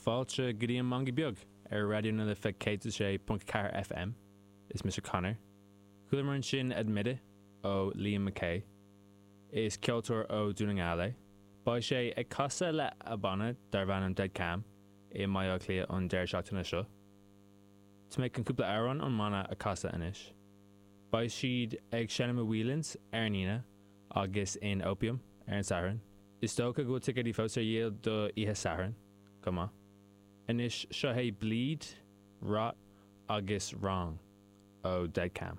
Fáilte go dtí an Mangaidh Beag ar Raidió na Life 106.4 FM. Is mise Conor. Chualamar ansin Admit It ó Liam McKay. Is ceoltóir ó Dún na nGall é. Beidh sé ag casadh le a banna darb ainm Dead Cam i mBaile Átha Cliath an deireadh seachtaine seo. Tá mé chun cúpla amhrán ón mbanna a chasadh anois. Beidh siad ag seinm i Whelan's ar an Aoine agus in Opium ar an Satharn. Is dócha go bhfuil ticéidí fós ar dhíol do oíche Sathairn chomh maith. Anois seo é Bleed, Rot agus Wrong ó Dead Cam.